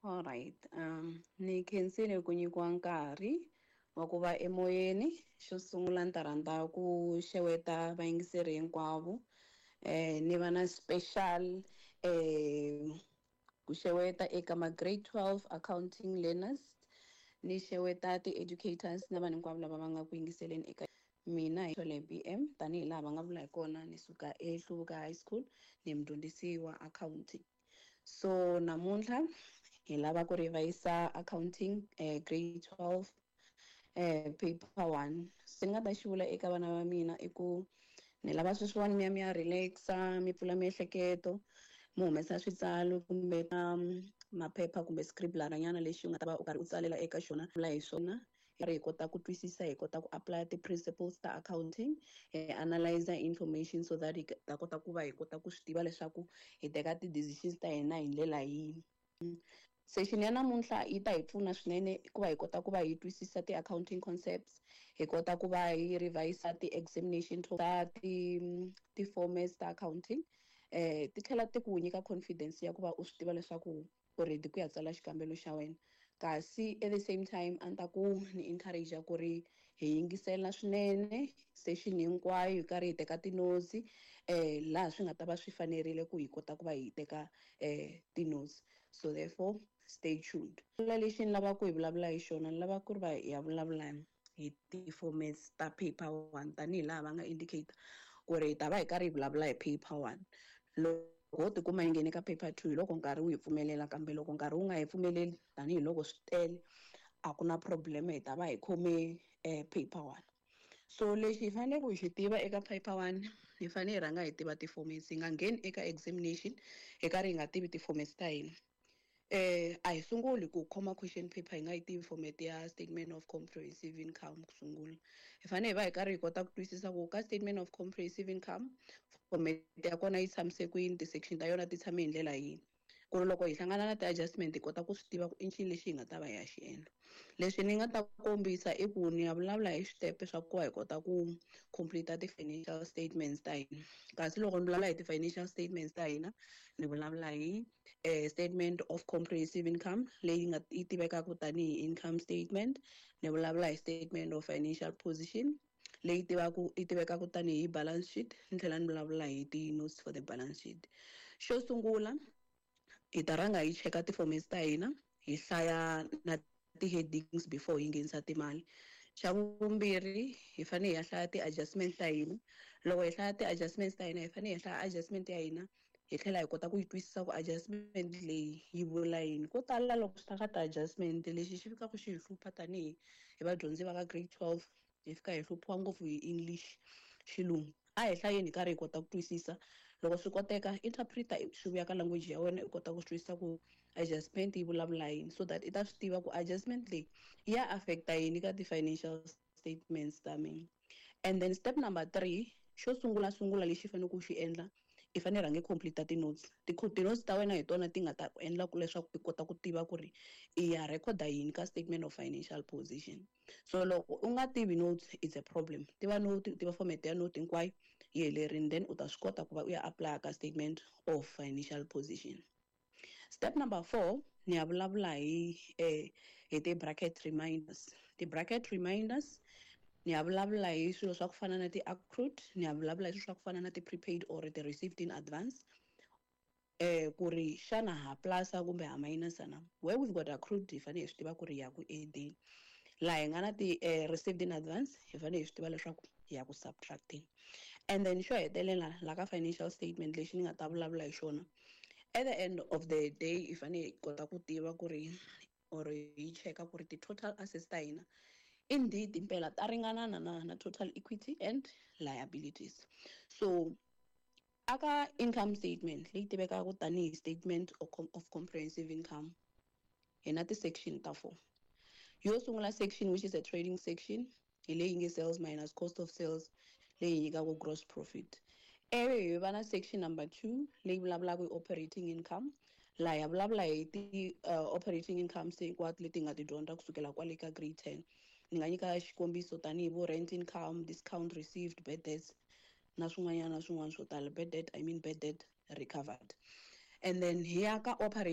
Alright, ni khensile ku nyikiwa nkarhi wa ku va emoyeni. Xo sungula ni ta rhandza ku xeweta vayingiseri hinkwavo, ni va na special ku xeweta eka ma grade 12 accounting learners, ni xeweta ti-educators na vanhu hinkwavo lava va nga ku yingiseleni eka mina. Hi Thole BM, tanihi laha va nga vula hi kona, ni suka eHluvuka High School, ni mudyondzisi wa accounting. So namuntlha hi lava ku revise accounting, grade 12, paper 1. Se ni nga ta xi vula eka vana va mina i ku ni lava sweswiwani mi ya mi ya relaxa, mi pfula miehleketo, mi humesa switsalo kumbe maphepha kumbe scribbler nyana lexi u nga ta va u karhi u tsalela eka xona. Vula hi swona ri hi kota ku twisisa, hi kota ku apply ti-principles ta accounting, hi analyze information so that hi ta kota ku va hi kota ku swi tiva leswaku hi teka ti-decisions ta hina hi ndlela yihi. Session ya namuntlha yi ta hi pfuna swinene ku va hi kota ku va hi twisisa ti-accounting concepts, hi kota ku va hi revise ti-examination ta ti-formats ta accounting, ti tlhela ti ku nyika confidence ya ku va u swi tiva leswaku u ready ku ya tsala xikambelo xa wena. Kasi at the same time a ni ta ku ni encourage ku ri hi yingisela swinene session hinkwayo, hi karhi hi teka ti-notes laha swi nga ta va swi fanerile ku hi kota ku va hi teka ti-notes. So therefore, stay tuned. La lexi ni lavaka ku hi vulavula hi xona, ni lava ku ri va hi ya vulavula hi ti-formats ta paper 1, tanihi laha va nga indicate ku ri hi ta va hi karhi hi vulavula hi paper 1. Loko ho tikuma hi nghene ka paper 2, hi loko nkarhi wu hi pfumelela, kambe loko nkarhi wu nga hi pfumeleli, tanihiloko swi tele, a ku na problem, hi ta va hi khome paper 1. So lexi hi faneleke hi xi tiva eka paper 1, hi fanele hi rhanga hi tiva ti-formats. Hi nga ngheni eka examination hi karhi hi nga tivi ti-formats ta hina. A hi sunguli ku khoma question paper hi nga yi tivi format ya statement of comprehensive income. Ku sungula, hi fanele hi va hi karhi hi kota ku twisisa ku ka statement of comprehensive income, format ya kona yi tshamise kwini, ti-section ta yona ti tshame hi ndlela yini, ku ri loko hi hlangana na ti-adjustment hi kota ku swi tiva ku i ncini lexi hi nga ta va hi ya xi endla. Leswi ni nga ta kombisa i ku ni ya vulavula hi switepe swa ku va hi kota ku complete ti-financial statements ta hina. Kasi loko ni vulavula hi ti-financial statements ta hina, ni vulavula hi statement of comprehensive income, leyi nga yi tivekaka tanihi income statement, ni vulavula hi statement of financial position, leyi tivaku yi tivekaka tanihi balance sheet, ni tlhela ni vulavula hi ti-notes for the balance sheet. Xo sungula, hi ta rhanga hi cheka ti-formats ta hina, hi hlaya na ti-headings before hi nghenisa timali. Xa vumbirhi, hi fanele hi ya hlaya ti-adjustment ta hina. Loko hi hlaya ti-adjustments ta hina, hi fanele hi hlaya adjustment ya hina, hi tlhela hi kota ku yi twisisa ku adjustment leyi yi vula yini. Ko tala loko swi ta ka ti-adjustment, lexi xi fikaka xi hi hlupha tanihi hi vadyondzi va ka grade 12, hi fika hi hluphiwa ngopfu hi English, xilungu. A hi hlayeni hi karhi hi kota ku twisisa. Loko swi koteka, interpreter swi vuya ka language ya wena, u kota ku swi twisisa ku adjustment yi vulavula yini, so that i ta swi tiva ku adjustment leyi ya affecta yini ka ti-financial statements ta mina. And then step number 3, xo sungula sungula lexi i faneleke ku xi endla, i fanele rhange complete ti-notes. Ti-notes ta wena hi tona ti nga ta ku endla ku leswaku i kota ku tiva ku ri i ya recorda yini ka statement of financial position. So loko u nga tivi notes, it's a problem. Tiva note, tiva format ya note hinkwayo yi helerile, then u ta swi kota ku va u ya apply ka statement of financial position. Step number 4, ni ya vulavula hi ti-bracket reminders. Ti-bracket reminders, ni ya vulavula hi swilo swa ku fana na ti-accrued, ni ya vulavula hi swilo swa ku fana na ti-prepaid or ti-received in advance, ku ri xana ha plusa kumbe ha minusa na. Where we've got accrued, hi fanele hi swi tiva ku ri ya ku add-eni. Laha hi nga na ti received in advance, hi fanele hi swi tiva leswaku hi ya ku subtracting. And then xo hetelela la ka financial statement lexi ni nga ta vulavula hi xona, at the end of the day hi fanele hi kota ku tiva ku ri or hi cheka ku ri ti-total assets ta hina indeed impela ta ringanana na total equity and liabilities. So aka income statement leyi tivekaka tanihi statement of comprehensive income, hi na ti-section ta 4. Yo sungula section, which is a trading section, hi leyi nge sales minus cost of sales, leyi nyikaka gross profit. Ivi hi va na section number 2, leyi vulavulaka hi operating income. Laha ya vulavula hi ti operating incomes hinkwato leti hi nga ti dyondza kusukela kwale ka grade 10. Ni nga nyika xikombiso tanihi vo rent income, discount received, bad debts na swin'wanyana na swin'wana swo tala. Bad debt, I mean bad debt recovered. And then hi ya ka operating